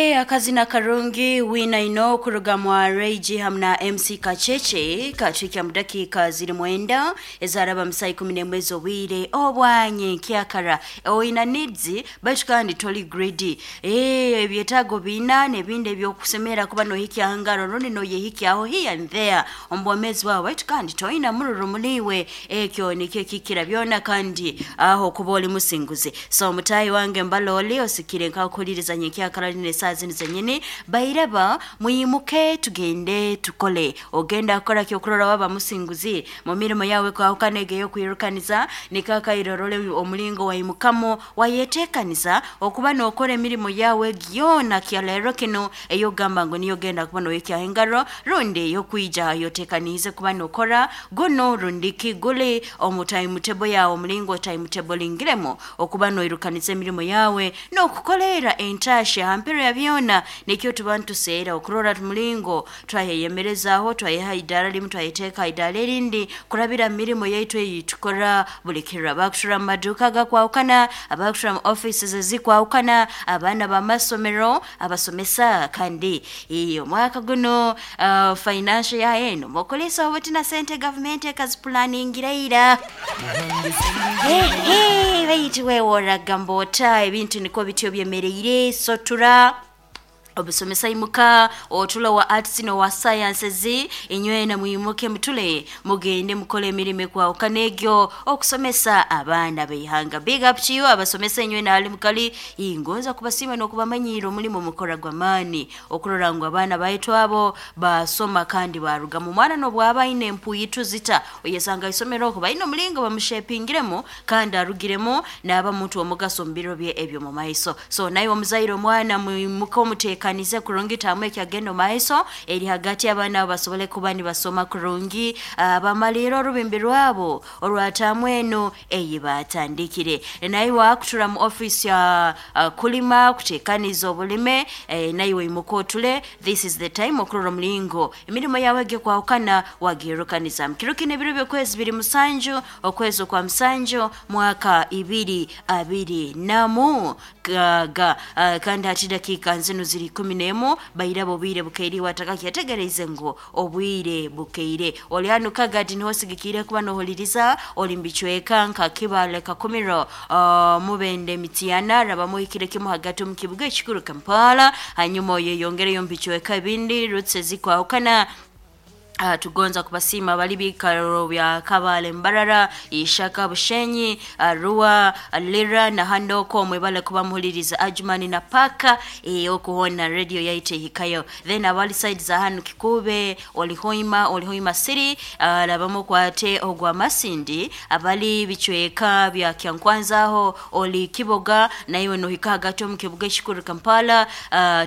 Akazina karungi wina ino kuruga mwa Ray hamwe na MC Kacheche katwikya mu dakiika ziri mwenda ezaraba mu saa ikumi n'emwe z'obwire obwanye nkyakara oina needs baitu kandi toli greedy. Ebyetaago biina n'ebindi ebyokusemera kuba nohikya ngaro rundi noyehikyaho here and there omu bwomeezi bwawe, baitu kandi toina mururu muliiwe. Ekyo nikyo kikira byona kandi aho kuba oli musinguzi. So mutahi wange mbaloli osikire nkakuhuliriza nyenkyakara lino esaaha zinu zenyini bairaba mwimuke tugende tukole. Ogenda kukora kyokurora waba musinguzi mu mirimo yawe kwahukana ege yokwirukaniza nikakairorole omulingo waimukamu wayetekaniza okuba nokora emirimo yawe gyona kyalero kino eyogamba ngu niyo genda kuba noyekyaho engaro rundi eyokwija yotekaniize kuba nokora guno rundi kiguli omu timetable yawe, omulingo timetableingiremu okuba noirukaniza emirimo yawe n'okukolera entasha hampero ya byona. Nikyo tuba ntuseera okurora mulingo twayeyemerezaaho, twayeha idaara limu, twayeteeka idaara erindi kurabira mu mirimo yaitu eyi tukora buli kiro. Abakutura mu maduuka gakwahukana, abakutura mu offices ezikwahukana, abaana b'amasomero, abasomesa. Kandi omwaka guno financial year eno mukulisa obutina sente gavumenti ekazipulaningira ira. Baitu weeworaga ota ebintu nikwo bityo byemereire. So tura obusomesa imuka otula wa arts nowa sciences, inywena mwimuke mutule mugende mukole emirimo ekwahukana egyo okusomesa abaana beihanga. Big up to you abasomesa inywena hali mukali. Ngonza kubasiima n'okubamanyiira omulimu mukora gw'amaani okurora ngu abaana baitu abo basoma kandi barugamu. Omwana n'obwaba aine empuitu zita, oyesanga isomero okwo baine omulingo bamushepingiremu kandi arugiremu n'aba muntu omugaso omu biro bye eby'omu maiso. So naye omuzaire omwana mwimuke omuteekanize kurungi tamu ekyagenda omu maiso eri hagati abaana abo basobole kuba nibasoma kurungi, bamalire orubimbi rwabo orwatamu eno eyi batandikire. Naye wakutura mu office ya kulima kutekaniza obulime, naiwe imuka otule. This is the time okurora omulingo emirimo yawe egekwahukana wagirukaniza. Mukiro kino ebiro by'okwezi biri 7 okwezi okwa 7 mwaka 2026 kandi hati dakiika nzino ziri 11. Bairaba obwire bukeire, watakakyategereize ngu obwire bukeire. Oli hanu Kagadi niho osigikire kuba nohuliriza, oli mbicweka nka Kibale, Kakumiro, Mubende, Mityana, raba muhikire kimu hagati omu kibuga ekikuru Kampala, hanyuma oyeyongereyo mbicweka ebindi roots ezikwahukana. Tugonza kubasiima abali bikaro bya Kabale, Mbarara, Ishaka, Bushenyi, Arua, Lira na Handoko. Mwebale kuba muhuliriza Ajumani na paka okuhona radio yaitu ehikayo. Then abali side za hanu Kikube, Olihoima, Olihoima City, labamu kwate ogwa Masindi, abali bicweka bya Kyankwanzaho, oli Kiboga naiwe nohika hagati omu kibuga ekikuru Kampala.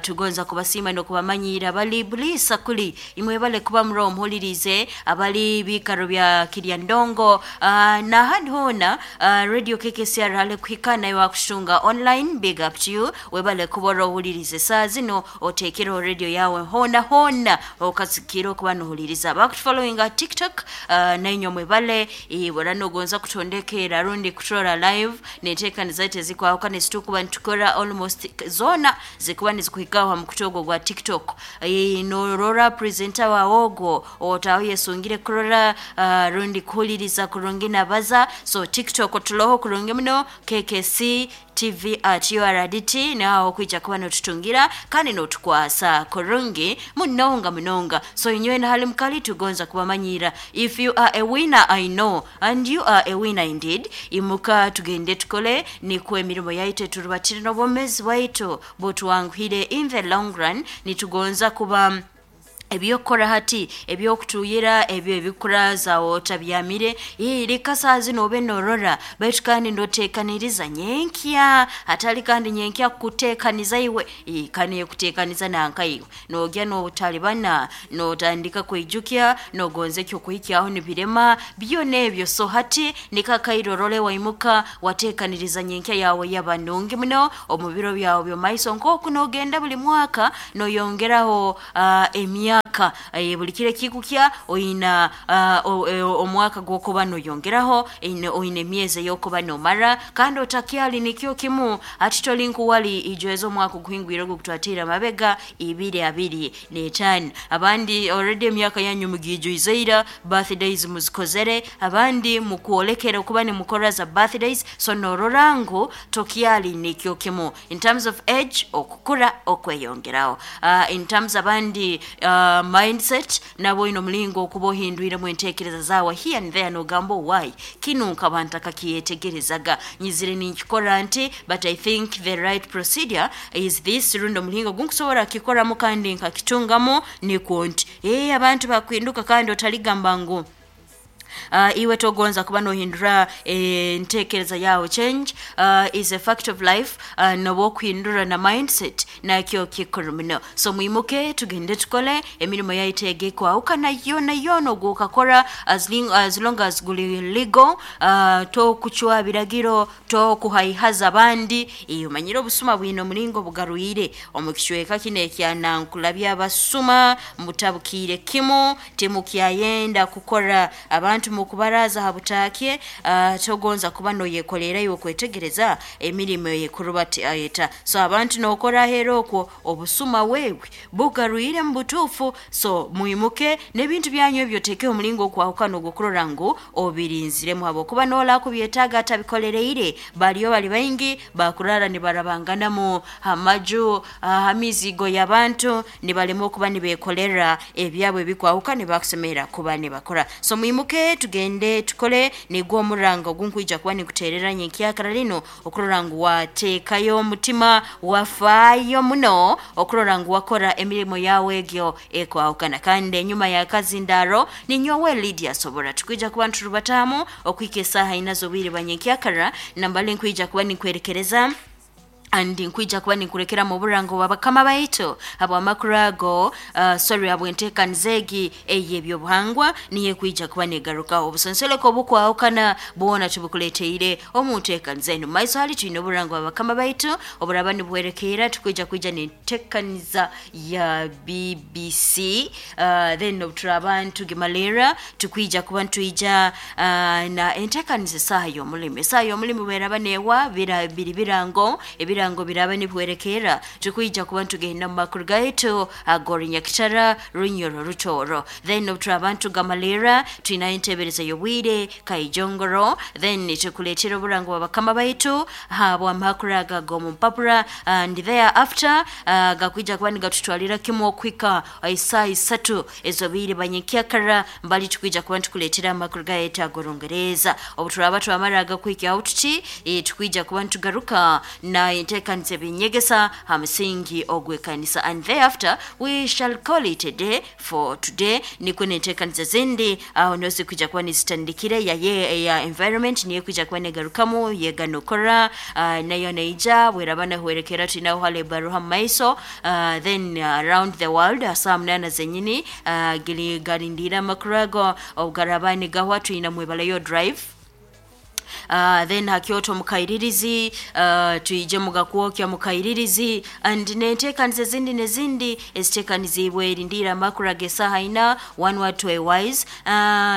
Tugonza kubasiima n'okubamanyira abali Bulisa kuli imwebale kuba muro muhulirize, abali bikaro bya Kiryandongo, n'ahandi hoona radio KKCR hale kuhika nawe wakushunga online. Big up to you, webale kuba ohulirize saa zino, oteekereho radio yawe hoona hoona okasikira okuba nohuliriza. Bakutufollowinga TikTok, nainywe mwebale. Bora nogonza kutondekera rundi kuturora live neteekaniza zaitu ezikwahukana ezitukuba nitukora almost zona zikuba nizikuhikaho ha mukutu ogwo gwa TikTok. Norora presenter wawe ogwo otaho yesungire kurora, rundi kuhuliriza kurungi nabaza. So TikTok tuloho kurungi muno, KKC TV at URDT, naho kwija kuba notutungira kandi notukwasa kurungi munonga munonga. So inywe hali mukali tugonza kubamanyira. If you are a winner, I know, and you are a winner indeed. Imuka tugende tukole nikwo emirimo yaitu turubatire n'obwomezi bwaitu butuwanguhire in the long run. Nitugonza kuba ebyokukora hati ebyokutuyira ebyo ebikuraza otabyamire reka saa zino obe norora, baitu kandi noteekaniriza nyenkya hatali kandi nyenkya kukuteekaniza iwe kane ekuteekaniza nanka iwe nogya notalibana notandika kwijukya nogonza ekyokuhikyaho nibirema byona ebyo. So hati nikakairorole waimuka wateekaniriza nyenkya yawe yaba nungi muno omu biro byawe by'omumaiso, nk'oku nogenda buli mwaka noyongeraho emyaka. Omwaka buli kiro ekikukya oyina omwaka gw'okuba noyongeraho, oyina emyezi ey'okuba nomara, kandi otakyali nikyo kimu. Hati toli nkuwali ijweza omwaka oguhingwire ogu gutwatiire amabega 2025. Abandi already emyaka yanyu mugiijwize ira, birthdays muzikozere, abandi mukwolekera okuba nimukora za birthdays. So norora ngu tokyali nikyo kimu in terms of age, okukura okweyongeraho, in terms abandi mindset nabo oyina omulingo okuba ohindwiremu entekereza zawe here and there, nogamba, "Why kinu nkaba ntakakyetegerezaga, nyizire ninkikora nti, but I think the right procedure is this," rundi omulingo gunkusobora kukikoramu kandi nkakitungamu nikwo nti. Abantu bakwinduka, kandi otaligamba ngu iwe togonza kuba nohindura entekereza yawe. Change is a fact of life. Noba okuhindura na mindset nakyo kikuru muno. So mwimuke tugende tukole emirimo yaitu egekwahukana yona yona ogwokakora, as long as guli legal, tokucwa biragiro, tokuhaihaza abandi. Omanyire obusuma bwine omulingo bugarwire omu kicweka kino ekyanankulabya. Abasuma mutabukiire kimu, timukyayenda kukora, abantu mukubaraza ha butaake. Togonza kuba noyekolera iwe kwetegereza emirimo ekuruba eta. So abantu nokora ahera okwo, obusuma wewe bugarwire mu butuufu. So mwimuke n'ebintu byanyu ebyo, otekeho omulingo okwahukana ogwokurora ngu obirinziremu, habwokuba nola kubyetaaga atabikolereire baliyo bali baingi bakurara nibarabanganamu hamaju, hamizigo y'abantu, nibalema okuba nibekolera ebyabo ebikwahuka nibakusemerera kuba nibakora. So mwimuke tugende tukole. Nigwo omuranga ogunkwija kuba nikuterera nyenkyakara lino, okurora ngu wateekayo omutima, wafaayo muno okurora ngu wakora emirimo yawe egyo ekwahukana. Kandi enyuma ya kazindaro ninyowe Lydia Sobora, tukwija kuba nturubatamu okwika esaaha 4 z'obwire bwa nyenkyakara. Nambali nkwija kuba ninkwerekereza andi nkwija kuba ninkurekera mu burango bwa bakama baitu habw'amakuru ago, sorry, habw'enteekaniza egi ey'ebyobuhangwa niyo ekwija kuba negarukaho. Obusonsoleko obukwahukana bwona tubukuleteire omu nteekaniza enu. Maiso hali twine oburango bwa bakama baitu oburaba nibuhwerekeera, tukwija kwija n'enteekaniza ya BBC. Then obuturaba ntugimalirra, tukwija kuba ntwija na enteekaniza esaaha y'omulimi. Esaaha y'omulimi bweraba neewa biri birango, ebirango biraba nibihwerekeera, tukwija kuba ntugenda mu makuru gaitu ag'orunyakitara, Runyoro, Rutooro. Then obuturaba ntugamalirra, twinayo entebereza y'obwire kaijongoro. Then tukuleetera oburango bwa bakama baitu habw'amakuru aga ag'omu mpapura, and thereafter gakwija kuba nigatutwalira kimu okuhika esaaha 3 ez'obwire banyenkyakara. Mbali tukwija kuba ntukuleetera amakuru gaitu ag'orungereza. Obu turaba twamara agakuhikyaho tuti, tukwija kuba ntugaruka na enteekaniza ebinyegesa ha musingi ogw'ekanisa, and thereafter we shall call it a day for today. Nikwo n'enteekaniza zindi aho niho zikwija kuba nizitandikire yaye ya environment, niyo ekwija kuba negarukamu yega nokora, nayo neija bweraba nehwerekera. Twinaho hali ebaruha mu maiso, then around the world saa 8 zenyini, gili galindiire amakuru ago. Obugaraba nigahwa, twina mwebaleyo drive, then hakyoto mukairirizi, twije mugakwokya mukairirizi, and nenteekaniza ezindi nezindi eziteekaniziibwe erindiire amakuru ag'esaaha 4, one word to a wise.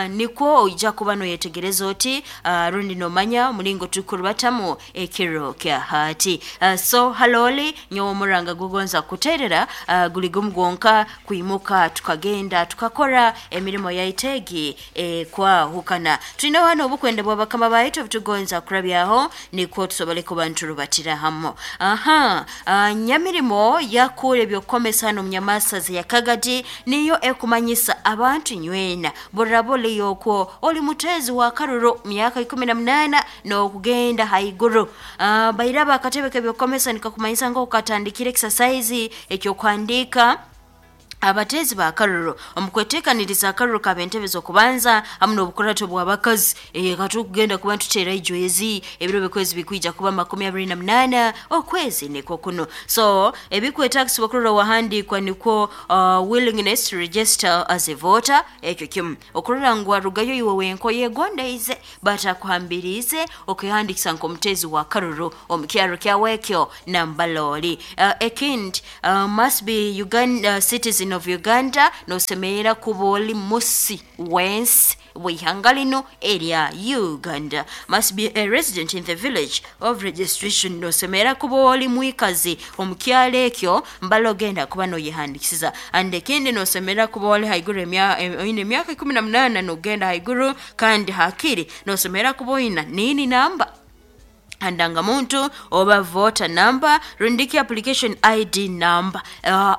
Nikwo oija kuba noyetegereza oti, rundi nomanya omulingo tukurubatamu ekiro kya hati. So haloli nyowe omuranga gugonza kuterera guli gumu gwonka, kwimuka tukagenda tukakora emirimo yaitu egi ekwahukana. Twine hano obukwenda bwa bakama baitu obutugonza kurabyaho, nikwo tusobole kuba nturubatira hamu. Aha, nyamirimo yakura ebyokukomesa hano omunyamasaza ya Kagadi niyo ekumanyisa abantu nywena burabole yokwo oli mutezi wa karuro myaka 18 n'okugenda haiguru. Bairaba akatebe k'ebyokukomesa nikakumanyisa ngu katandikire exercise ekyokuhandiika abateezi ba karuro omukweteekaniriza akaruro k'ab'entebe z'okubanza hamu n'obukurato bw'abakazi. Katukugenda kuba ntuteera ijwezi ebiro bikwezi bikwija kuba 28 okwezi nikwo kuno. So ebikwetagisibwa kurora wahandiikwa nikwo willingness to register as a voter, ekyo kimu, okurora ngu warugayo iwe wenka oyegondeize batakuhambiriize okehandikisa nk'omuteezi wa karuro omu kyaro kyawe ekyo nambaloli. Ekindi, must be Uganda citizen. of Uganda. Nosemerera kuba oli musi wensi w'ihanga lino erya Uganda. Must be a resident in the village of registration. Nosemerera kuba oli mwikazi omu kyalo ekyo mbala ogenda kuba noyehandikisiza. And ekindi nosemerera kuba oli haiguru oine emyaka 18 nogenda haiguru, kandi hakiri nosemerera kuba oina nini namba andangamuntu oba voter number rundiki application ID number.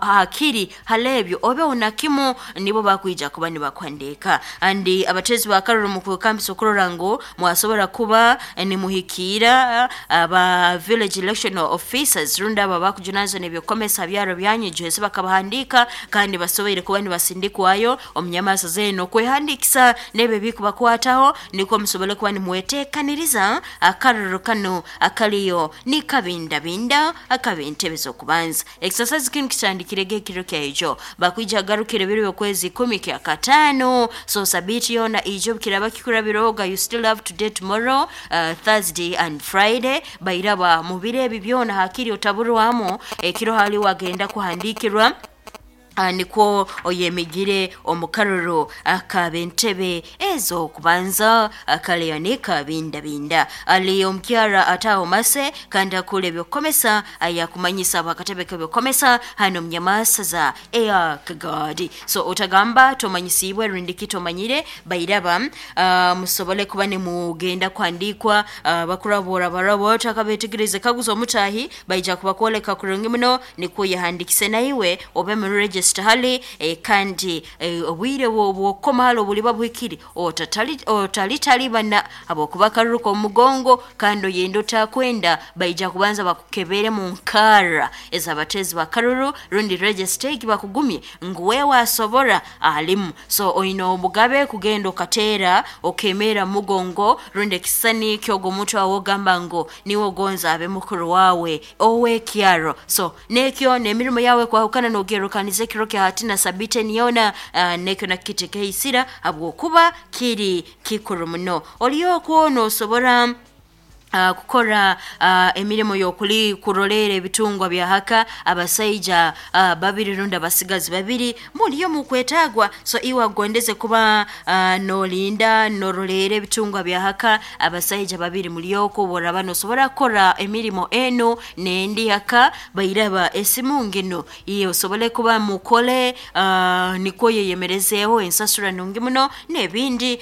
Hakiri halebyo obe unakimu nibo bakwija kuba nibakwandika. Andi abatezi bakaruru mu kukambisa okurora ngu mwasobora kuba nimuhikira aba village election officers rundi aba bakujunaanizibwa n'ebyokukomesa byaro byanyu juhese bakabahandika, kandi basoboire kuba nibasindikwayo omunyamaso zenu kwehandikisa n'ebyo bikubakwataho, nikwo musobole kuba nimweteekaniriza akaruru kano akaliyo nikabindabinda akaba entebe z'okubanza. Exercise kinu kitandikirege ekiro kyaijo bakwija garukire biro by'okwezi 10 kya katano. So sabiti yona ijo kiraba kikurabiroga, you still have today, tomorrow, Thursday and Friday. Bairaba mu biro ebi byona hakiri otaburwamu ekiro hali wagenda kuhandikirwa, nikwo oyemigire omukaruro akaba entebe ez'okubanza akaleyo nikabindabinda. Ali omukyara ataho mase kandi akula ebyokukomesa ayakumanyisa abakatebe k'ebyokukomesa hano munyamasaza eya Kagadi. So otagamba tomanyisiibwe rundiki tomanyire, bairaba musobole kuba nimugenda kuhandikwa. Bakurabura baraba otakabetegereze kaguza omutahi baija kubakwoleka kurungi muno nikwo yahandikise naiwe obe mu register hali, kandi obwire bwokoma hali obuliba buhikire otalitalibana habwokuba karuruka omugongo kandi oyenda otakwenda baija kubanza bakukebere mu nkara ezabatezi bakaruru rundi register egi bakugumye ngu wewe asobora alimu. So oine obugabe kugenda okateera okemera mugongo rundi ekisani kyogo omuntu awo ogamba ngu niwe ogonza abe mukuru wawe owekyaro. So nekyo nemirimo yawe kwahukana nogerukaniza ekiro kya hati na sabite niyona, nekyo nakitekeisira habwokuba kiri kikuru muno. Oliokwo nosobora kukora emirimo y'okuli kurolera ebitungwa bya haka abasaija babiri rundi abasigazi babiri muliyo mukwetagwa. So iwe agondeze kuba nolinda norolera ebitungwa bya haka abasaija babiri mulyoko boraba nosobora kukora emirimo eno nendi haka bairaba esimu ngino iyo osobole kuba mukole, nikwo yeyemerezeeho ensasura nungi muno n'ebindi.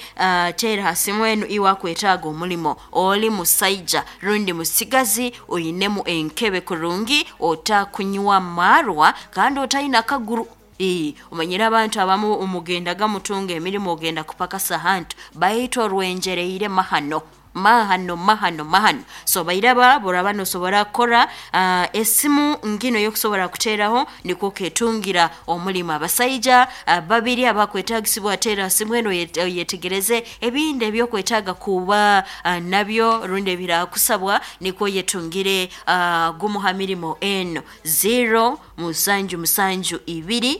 Teera hasimu enu iwe akwetaaga omulimo oli musaija rundi musigazi oinemu enkebe kurungi otakunywa marwa kandi otalina kaguru. Omanyire abantu abamu omugendaga mutunga emirimu ogenda kupakasa hantu baitu orwenjereire mahano mahano mahano mahano. So bairaba boraba nosobora kukora, esimu ngino yokusobora kuteeraho nikwo ketungira omulimu abasaija babiri abakwetagisibwa. Teera simu eno yetegereze ebindi ebyokwetaaga kuba nabyo rundi ebirakusabwa nikwo yetungire gumu ha mirimo eno 0 7 7 2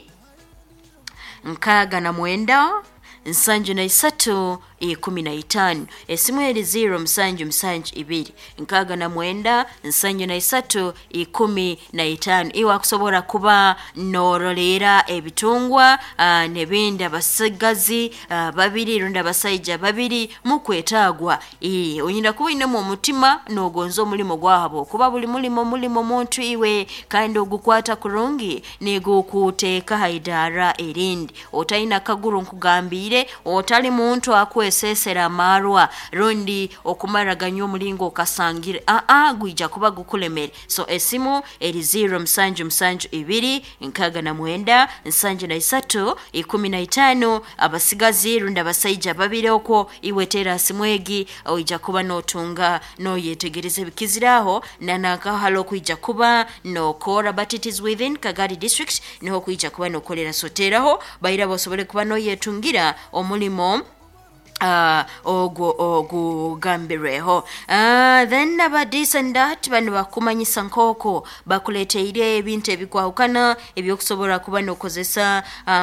69 73 15. Esimu eri 0 7 7 2 69 73 15. Iwe akusobora kuba norolera ebitungwa, nebindi abasigazi babiri rundi abasaija babiri mukwetagwa. Oyinda kuba oinemu omutima nogonza omulimo gwabo kuba buli mulimo mulimo muntu iwe kandi ogukwata kurungi nigukuteeka haidara erindi. Otalina kaguru nkugambire, otali muntu akwesesera amarwa rundi okumaraganya omulingo okasangire gwija kuba gukulemere. So esimu eri 0 7 7 2 69 73 15. Abasigazi rundi abasaija babiri okwo iwe teera simu egi oija kuba notunga noyetegereza ebikiziraho nanakahalo kwija kuba nokora, but it is within Kagadi district niho kwija kuba nokolera. So teeraho bairaba osobole kuba noyetungira omulimo. Ogwo ogugambirweho. Then aba this and that bano bakumanyisa nk'oko bakuleteire ebintu ebikwahukana ebyokusobora kuba nokozesa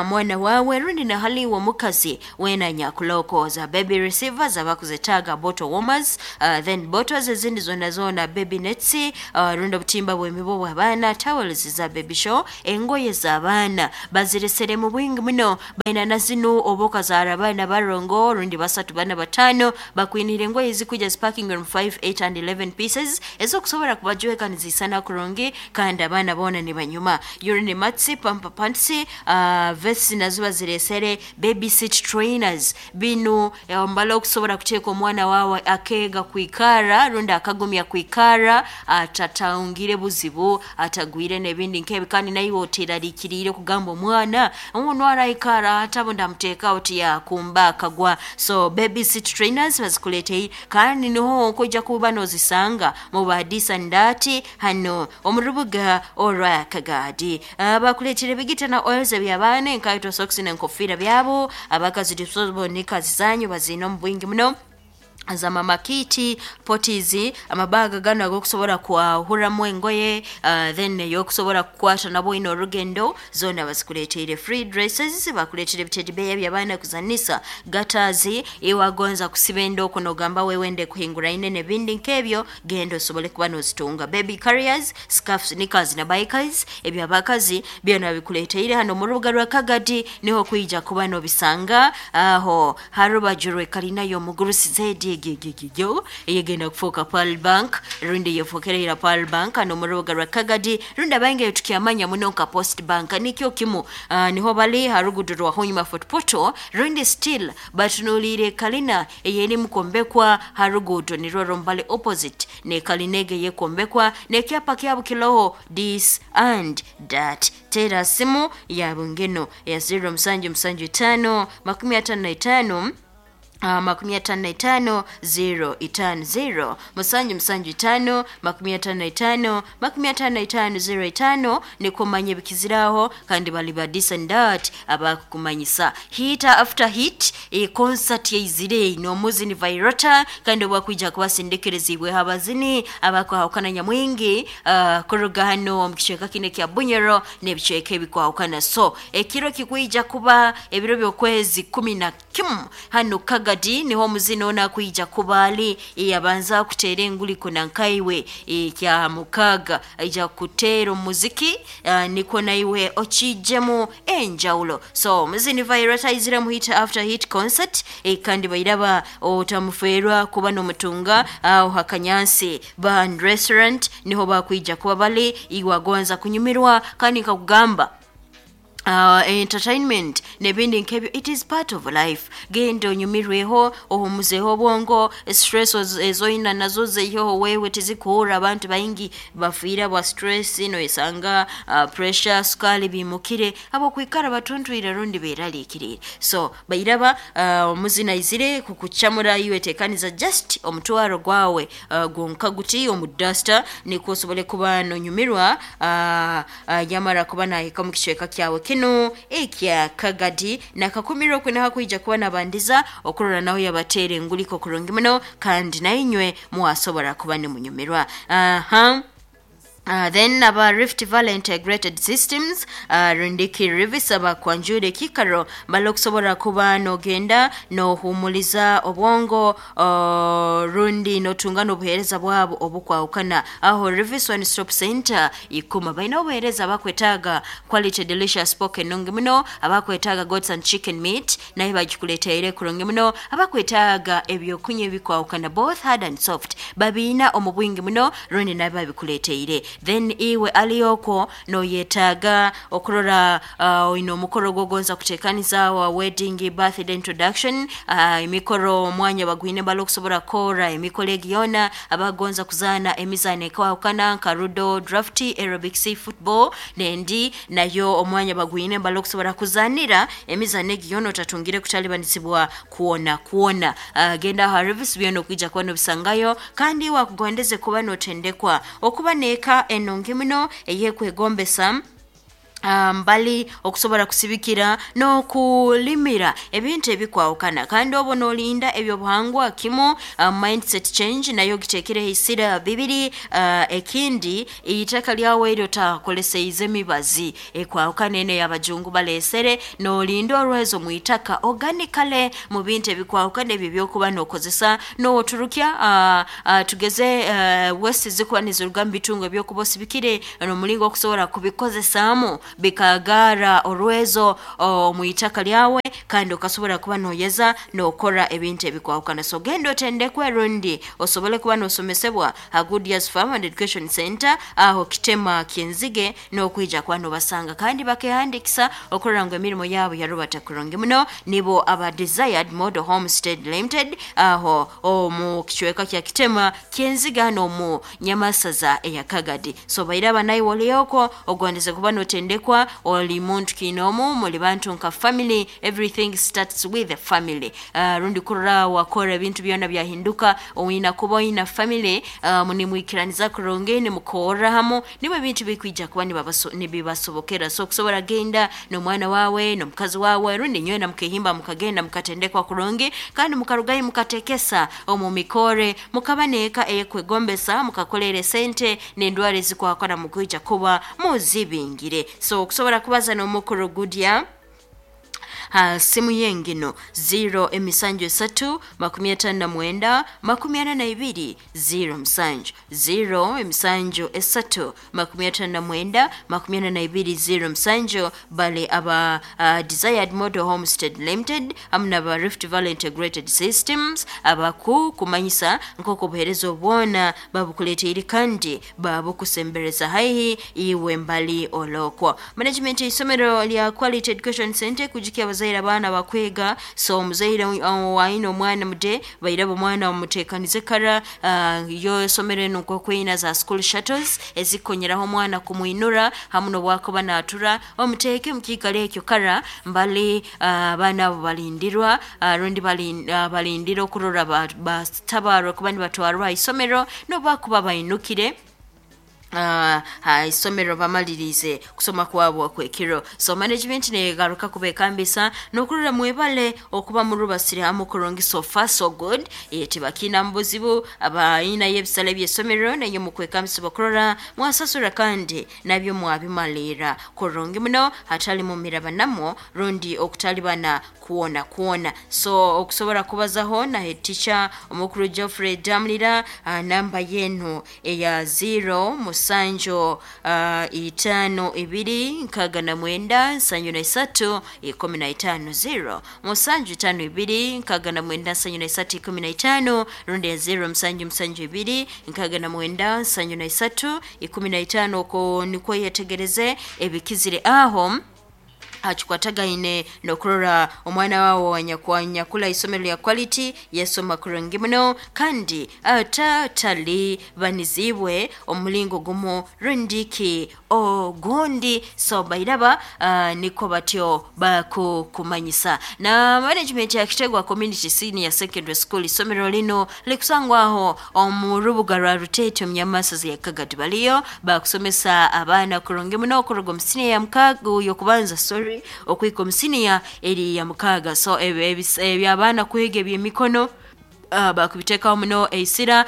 mwana wawe rundi nahaliwe omukazi wena nyakulokooza baby receivers, abakuzetaaga bottle warmers, then bottles ezindi zona zona, baby nets, rundi obutimba bw'emibu bw'abaana, towels za baby show, engoye z'abaana baziresere mu bwingi muno. Baina na zinu oba okazaara abaana barongo rundi 3, 4, 5, bakwinire engoye zikuja zipakinga mu 5, 8 and 11 pieces ezokusobora kubajweka nizisana kurungi kandi abaana boona nibanyuma. Urine mats, pamper pants, vests nazo baziresere, baby seat trainers binu mbala okusobora kuteeka omwana wawe akeega kwikara rundi akagumya kwikara atataungire buzibu, atagwire n'ebindi nk'ebi, kandi naiwe oterarikiriire kugamba omwana ono araikara atabo ndamuteekawo tiyakumba akagwa. So baby seat trainers bazikuleetei kandi niho okujja kuba nozisanga mu ba this and that hano omu rubuga orwa Kagadi. Bakuleetera ebigita na oils eby'abaana, enkaito, socks n'enkofiira byabo abakazi, disposable knickers zanyu baziina omu bwingi muno, za mama kiti potties, amabaga gano agokusobora kwahuramu engoye, then yokusobora kukwata nabo ino orugendo, zona bazikuleteire. Free dresses, bakuletere ebitedibeya by'abaana kuzanisa, gutters, iwagonza kusiba endoko nogamba wewende kuhingura ine n'ebindi nk'ebyo, genda osobole kuba nozitunga. Baby carriers, scarfs, knickers na bikers ebyabakazi byona bikuleteire hano mu rubuga rwa Kagadi, niho kwija kuba nobisanga aho harubaju rwekalina y'omugurusi zedi egegegegyo eyegenda kufuuka Pearl Bank rundi yefuukereera Pearl Bank hano mu rubuga rwa Kagadi, rundi abange tukyamanya muno nka Post Bank, nikyo kimu. Niho bali harugudo rwa Hoima Fort Portal rundi still batunuliire kalina eyerimu kwombekwa harugudo nirwo rumbali opposite ne kalina ege yekwombekwa nekyapa kyabo kiloho this and that. Tera simu ya bungeno ya 0775 55 55 0 5 0 7 7 5 55 55 0 5, nikumanya ebikiziraho kandi bali ba this and that abakukumanyisa. Hit after hit, e concert yaizire n'omuzini Vairota kandi obwakwija kubasindikirizibwe abazini abakwahukana nyamwingi kuruga hano omu kicweka kino kya Bunyoro n'ebicweka ebikwahukana. So ekiro kikwija kuba ebiro by'okwezi 11 hano Kagadi, niho omuzini ono akwija kuba ali yabanza kuteera enguliko nankaiwe kya mukaaga aija kuteera omuziki, nikwo naiwe okijjemu enjawulo. So omuzini Vairota aizire mu hit after hit concert, kandi bairaba otamufeerwa kuba n'omutunga aho Hakanyansi Bar and Restaurant, niho bakwija kuba bali iwagonza kunyumirwa. Kandi nkakugamba, entertainment n'ebindi nk'ebyo, it is part of life. Genda onyumirweho, ohumuzeho obwongo, stress ezoina nazo zeiheho wewe tizikuhura. Abantu baingi bafiira bwa stress, noyesanga pressure, sukali bimukire abokwikara batuntwire rundi beraliikirire. So bairaba omuzina aizire kukucamura, iwe tekaniza just omutwaro gwawe gwonka guti omu duster, nikwo osobole kuba nonyumirwa yamara kuba nahika omu kicweka kyawe kino ekya Kagadi. Nakakumirwa okwe kwija kuba nabandiza okurora naho yabateera enguliko kurungi muno kandi nainywe mwasobora kuba nimunyumirwa. Aha. Then aba Rift Valley Integrated Systems, rundiki Rivisa, bakwanjura ekikaro bali okusobora kuba nogenda nohumuliza obwongo, rundi notunga n'obuheereza bwabo obukwahukana aho Rivis One Stop Center ikuma. Balina obuheereza abakwetaaga quality delicious pork enungi muno, abakwetaaga goats and chicken meat naye bagikuleteire kurungi muno, abakwetaaga ebyokunywa ebikwahukana both hard and soft babiina omu bwingi muno rundi nabe babikuleteire. Then iwe aliyokwo noyetaaga okurora oine omukoro gwogonza kutekaniza wa wedding, birthday, introduction, emikoro omwanya bagwine bali okusobora kukora emikoro egi yona, abagonza kuzaana emizaano ekwahukana nka ludo, draft, aerobics, football nendi, nayo omwanya bagwine bali okusobora kuzanira emizaano egi yona otatungire kutalibanisibwa kuona kuona. Genda aha Rivis, byona okwija kuba nobisangayo. Kandi wakugondeze kuba notendekwa okuba neeka enungi muno eyekwegombesa. Mbali okusobora kusibikira n'okulimira ebintu ebikwawukana, kandi obo nolinda ebyobuhangwa kimu. Mindset change nayo giteekereho isira bibiri. Ekindi, itaka lyawe eryo takoleseize emibazi ekwawukana eno ey'abajungu balesere, nolinda orwezo mu itaka organically mu bintu ebikwawukana ebyo ebyokuba nokozesa noturukya, tugeze, waste zikuba niziruga mu bitungo ebyokuba osibikire, n'omulingo okusobora kubikozesaamu bikagara orwezo omu itaka lyawe, kandi okasobora kuba noyeza nokora ebintu ebikwahukana. So genda otendekwe rundi osobole kuba nosomesebwa ha Goodyears Farm and Education Center aho Kitema Kyenzige, n'okwija kuba nobasanga kandi bakehandikisa okurora ngu emirimo yabo yarubata kurungi muno. Nibo aba Desired Model Homestead Limited aho omu kicweka kya Kitema Kyenzige hano omu Nyamasaza eya Kagadi. So bairaba naiwe oliyoko ogondeze kuba notendekwa, oli muntu kinomu, muli bantu nka family. Everything starts with a family. Rundi kurora wakora ebintu byona byahinduka, oina kuba oina family, nimwikiraniza kurungi, nimukorra hamu, nibwo ebintu bikwija kuba nibibasobokera. So okusobora genda n'omwana wawe n'omukazi wawe rundi nywena mukehimba mukagenda mukatendekwa kurungi, kandi mukarugayo mukatekesa omu mikore, mukaba neeka eyekwegombesa, mukakolera esente n'endwara ezikwakora mukwija kuba muzibingire. So okusobora kubaza n'omukuru Goodyear ha simu yengino 0 emisanju 3 59 42 07, 0 emisanju 3 59 42 07. Bale aba Desired Model Homestead Limited hamu naba Rift Valley Integrated Systems abaku kumanyisa nk'oku obuheereza obwona babukuleteire kandi babukusembereza haihi iwe mbali olokwo. Management y'isomero lya Quality Education Center kujikya abazaire abaana bakwega. So omuzaire waine omwana mude, bairaba omwana omutekanize kara. Yo esomero enu nkokwina za school shuttles ezikonyeraho omwana kumwinura hamu n'obwakuba natura, omuteeke mukiikaro ekyo kara mbali abaana abo balindirwa, rundi balindira okurora batabarwa kuba nibatwarwa ha isomero n'obwakuba bainukire ha isomero bamalirize kusoma kwabo okwekiro. So management negaruka kubekambisa n'okurora mwebale okuba murubasire hamu kurungi. So far so good, tibakina mu buzibu. Abaina y'ebisale by'esomero nayo mukwekambisibwa kurora mwasasura kandi nabyo mwabimalira kurungi muno, hatali mu mirabanamo rundi okutalibana kuona kuona. So okusobora kubazaho na head teacher omukuru Geoffrey Damlira, namba yenu eya 0 7 5 2 69 73 15, 0 7 5 2 69 73 15, rundi ya 0 7 7 2 69 73 15. Oko nikwo yetegereze ebikizire aho hakikwatagaine n'okurora omwana wawe wanyakula isomero lya Quality yasoma kurungi muno kandi atatali banizibwe omulingo gumu rundiki ogundi. So bairaba, niko batyo bakukumanyisa. Na management ya Kitegwa Community Senior Secondary School, isomero lino likusangwaho omu rubuga rwa Ruteete omu Nyamasazi ya Kagadi, baliyo bakusomesa abaana kurungi muno okuruga omu siniya ya mukaaga yokubanza, sorry, okwika omu siniya eri ya mukaaga. So ebyabaana kwega ebyemikono, bakubiteekaho muno eisira.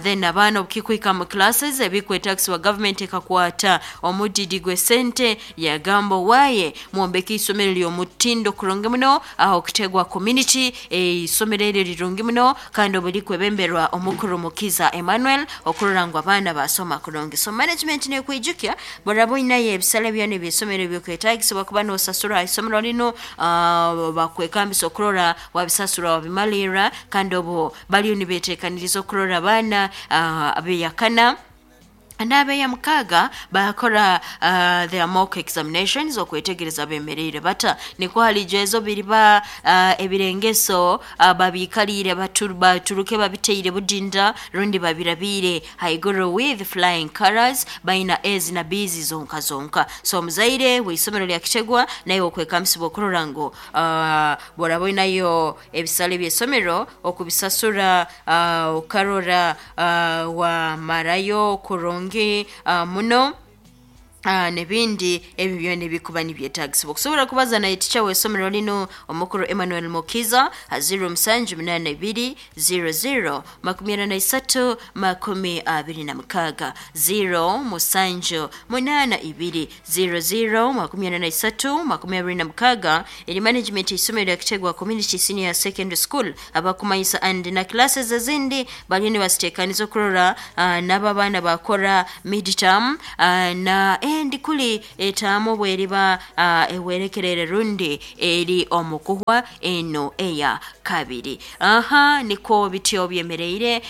Then abaana obukikwika mu classes ebikwetagisibwa, government ekakwata omudidi gw'esente yagamba waaye mwombeke isomero ly'omutindo kurungi muno aho Kitegwa Community. Isomero eryo rirungi muno kandi obu likwebemberwa omukuru Mukiza Emmanuel okurora ngu abaana basoma kurungi. So management nekwijukya boraba oinayo ebisale byona eby'isomero ebyokwetagisibwa kuba nosasura ha isomero lino, bakwekambisa okurora wabisasura wabimalirra, kandi obu baliyo nibetekaniriza okurora abaana abeyakana n'abeya mukaaga bakora their mock examinations okwetegereza bemereire bata. Nikwo halijezo biriba ebirengeso, babikalire baturuke babiteire budinda rundi babirabiire haiguru with flying colors, baina A's na B's zonka zonka. So omuzaire w'isomero lya Kitegwa naye okwekambisibwa okurora ngu boraba oinayo ebisale by'esomero okubisasura, okarora wamarayo kurungi muno. Nebindi ebyo byona ebikuba nibyetagisibwa. Okusobora kubaza na ticca w'esomero linu, omukuru Emmanuel Mukiza, ha 0782 00 43 26, 0782 00 43 26. Eri management isomero lya Kitegwa Community Senior Secondary School abakumanyisa. And na classes ezindi baliyo nibaziteekaniza okurora nabo abaana bakora midterm, na endi kuli etaamu bweriba ehwerekerere rundi eri omukuhwa eno eya kabiri. Aha niko bityo byemereire,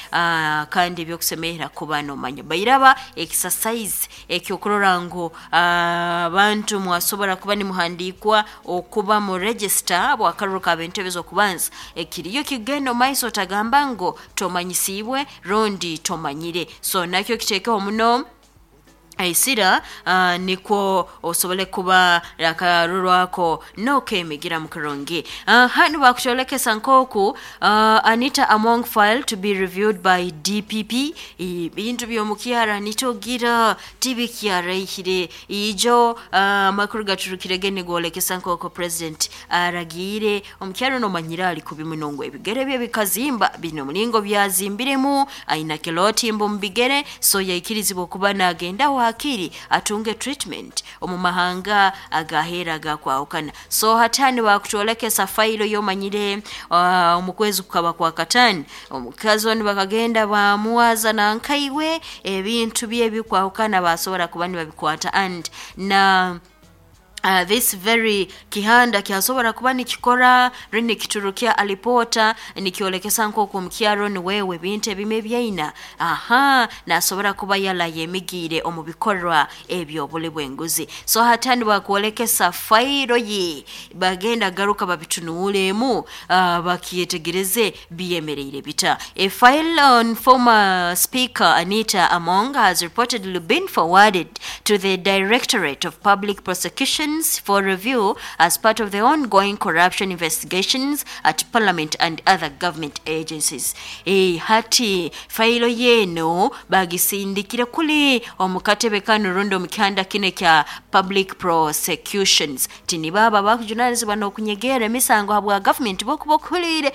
kandi byokusemerera kuba nomanya bairaba exercise ekyokurora ngu abantu mwasobora kuba nimuhandikwa okuba mu register bwakaruru ka bentebe z'okubanza ekiriyo kigenda omumaiso. Otagamba ngu tomanyisiibwe rundi tomanyire, so nakyo kiteekeho muno aisira, nikwo osobole kuba akaruru ako nokemigira mukurungi. Hanu bakukyolekesa nkoku Anita Among file to be reviewed by DPP. Bintu byomukyara Anita ogira tibikyaraihire ijo. Amakuru gaturukirege nigolekesa nkoko president aragiire omukyara nomanyire ali kubi muno, ngu ebigere bye bikazimba bino mulingo byazimbiremu, aina kilotimbo mu bigere, so yaikirizibwa okuba nagenda hakiri atunge treatment omu mahanga agahera agakwahukana. So hatani bakutwolekesa failo yomanyire, omukwezi kukaba kwa katani omukazi onu bakagenda bamuwaza nankaiwe ebintu bye ebikwahukana basobora kuba nibabikwata. And na this very kihanda kyasobora kuba nikikora rundi nikiturukya alipota nikyolekesa nk'oku omukyaro ni wewe bintu ebime byaina aha nasobora kuba yala yemigiire omu bikorwa ebyobuli bw'enguzi. So hatani bakwolekesa fairo ye bagenda garuka babitunuulemu, bakyetegereze biyemereire bita. A file on former Speaker Anita Among has reportedly been forwarded to the Directorate of Public Prosecutions for review as part of the ongoing corruption investigations at Parliament and other government agencies. Hati failo yeno bagisindikire kuli omukatebe kano rundi omukihanda kine kya public prosecutions, tini baba bakujunanizibwa n'okunyegera emisango habwa government bokuba okuhuliire,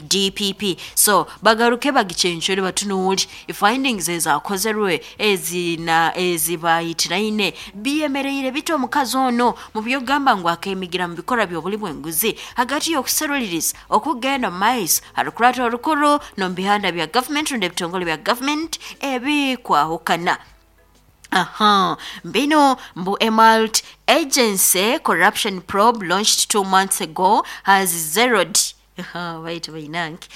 DPP. So bagaruke bagichenchore, batunuuli findings ezakozerwe ezina ezibayitiraine biyemereire bita omukazi ono mu byogamba ngu akemigira mu bikorwa by'obuli bw'enguzi hagati y'okuseruliriza okugenda mu maiso harukurata orukuru n'omu bihanda bya government rundi ebitongole bya government ebikwahukana. Aha, mbino mbu a multi agency corruption probe launched 2 months ago has zeroed. Waitu bainange,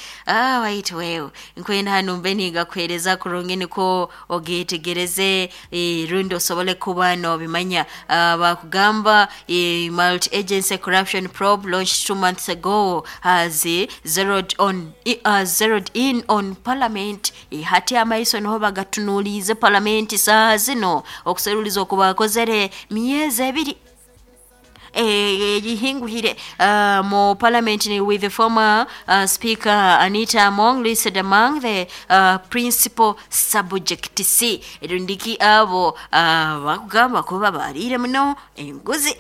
waitu wewe, nkwenda hanu mbe ningakuhereza kurungi niko ogyetegereze, rundi osobole kuba nobimanya. Bakugamba multi agency corruption probe launched 2 months ago has zeroed in on parliament. Hati amaiso niho bagatunuliize parliament saaha zino okuseruliza okubakozere myezi 2 yihinguhire mu parliament, with the former Speaker Anita Among listed among the principal subjects, rundiki abo bakugamba kuba bariire muno enguzi.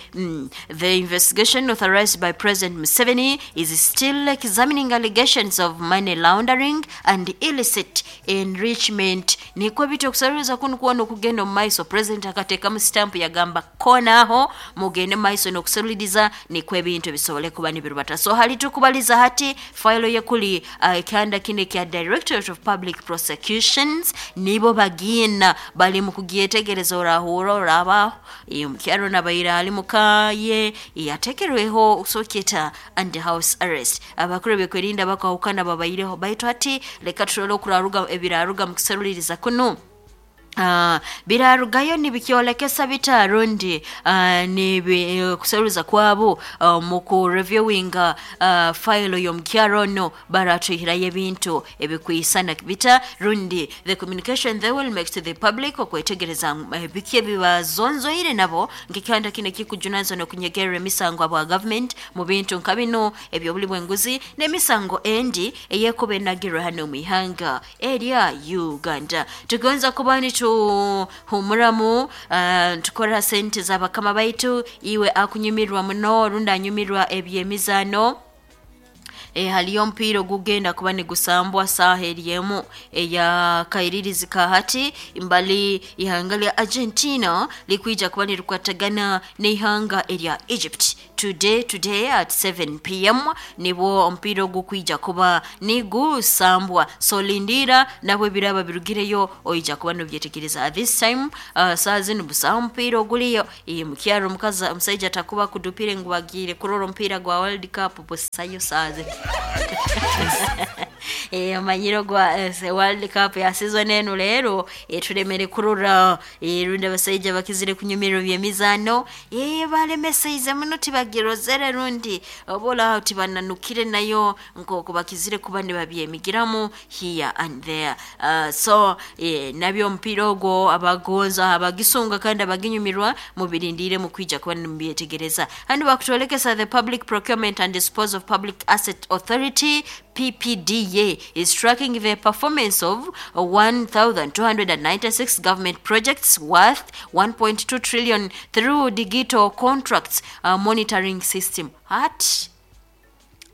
The investigation authorized by President Museveni is still examining allegations of money laundering and illicit enrichment. Nikwo bityo okusaliriza kunu kwona okugenda omu maiso, president akateekamu stamp yagamba konaho mugende mu maiso n'okusaliriza nikwo ebintu bisobole kuba nibirubata. So hali tukubaliza hati failo yekuli ekyanda kine kya Directorate of Public Prosecutions, nibo bagina bali mu kugyetegereza. Orahura orabaho omukyaro nabaire ali mukaye yatekerweho soketa and house arrest, abakuru bekwerinda bakwahukana babaireho. Baitu hati leka turole okuraruga ebiraruga mu kuseruliriza kunu, birarugayo nibikyolekesa bita rundi nibi kuseruliza kwabo mu ku reviewinga file y'omukyaro ono baratwihirayo ebintu ebikwisana bita, rundi the communication they will make to the public okwetegereza biki ebibazonzoire nabo nk'ekyanda kino ekikujunanizibwa n'okunyegerera emisango abwa government mu bintu nka bino ebyobuli bw'enguzi n'emisango endi eyekuba enagirwe hano mu ihanga erya Uganda. Tugonza kuba nitu Nituhumuramu, tukora sente z'abakama baitu. Iwe akunyumirwa muno rundi anyumirwa eby'emizaano, haliyo omupiira ogugenda kuba nigusambwa saaha eri emu eya kairirizi ka hati. Mbali ihanga lya Argentina likwija kuba nirikwatagana n'ihanga erya Egypt today at 7 p.m. Nibwo omupiira ogukwija kuba nigusambwa, so lindira nabwo ebiraba birugireyo oija kuba nobyetegereza. At this time, saa zinu busaho omupiira oguliyo. Mukyaro omukazi omusaija atakuba kudupire ngu bagiire kurora omupiira gwa World Cup, busayo saa zinu. Omanyire ogwa World Cup ya season enu rero turemere kurora. Rundi abasaija bakizire kunyumirwa eby'emizaano, balemeseize muno, tibagirozere, rundi oba tibananukire nayo nk'oku bakizire kuba nibabyemigiramu here and there. So nabyo omupiira ogwo abagonza abagisunga kandi abaginyumirwa mubirindire mukwija kuba nimubyetegereza. Handi bakutwolekesa the Public Procurement and Dispose of Public Asset Authority, PPDA, is tracking the performance of 1,296 government projects worth 1.2 trillion through digital contracts monitoring system. Hati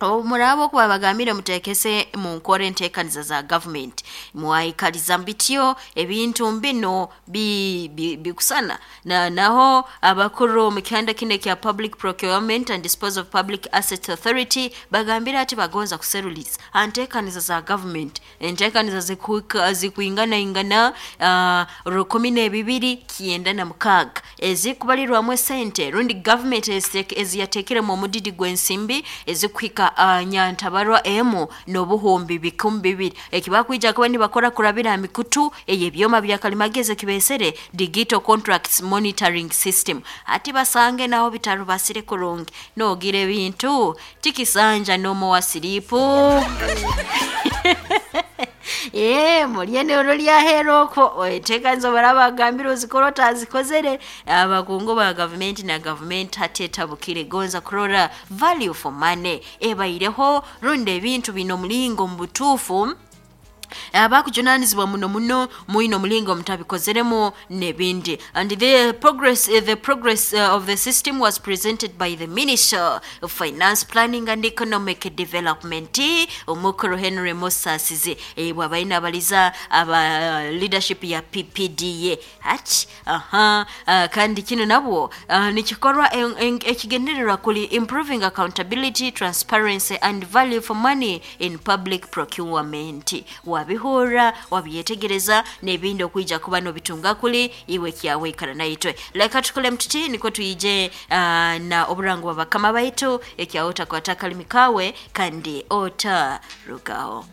omurabo okuba bagambire mutekese mu nkora enteekaniza za gavumenti, mwayikaliza mbityo ebintu mbino bikusana na naho abakuru mu kihanda kino ekya Public Procurement and Dispose of Public Assets Authority bagambire ati bagonza kuseruliza anteekaniza za gavumenti, enteekaniza zikwinganaingana 1296 ezikubalirwamu esente rundi gavumenti eziyateekiremu omudidi gw'ensimbi ezikuhika nyantabarwa emu n'obuhumbi 200. Ekibakwija kuba nibakora kurabira ha mikutu ey'ebyoma bya kalimagezi ekibesere digital contracts monitoring system. Ati basange naho bitarubasire kurungi, nogira ebintu tikisanja n'omuwa siripu. Mulye nero lyahera okwo enteekaniza baraba bagambire ozikora otazikozere. Abakungu ba gavumenti na gavumenti hati etabukire gonza kurora value for money ebaireho rundi ebintu bino omulingo mu butuufu abakujunanizibwa muno muno mwino mulingo mutabikozeremu nebindi. And the progress of the system was presented by the Minister of Finance, Planning and Economic Development, omukuru Henry Musasizi, bwaba abaliza aba leadership ya PPDA ati aha. Kandi kino nabwo nikikorwa ekigendererwa kuli improving accountability, transparency and value for money in public procurement. Wabihura, wabyetegereza n'ebindi okwija kuba nobitunga kuli iwe kyawekana naitwe. Leka tukole mtuti niko tuyije na oburango bwa bakama baitu ekyawo takwata kalimi kawe kandi ota rugaho.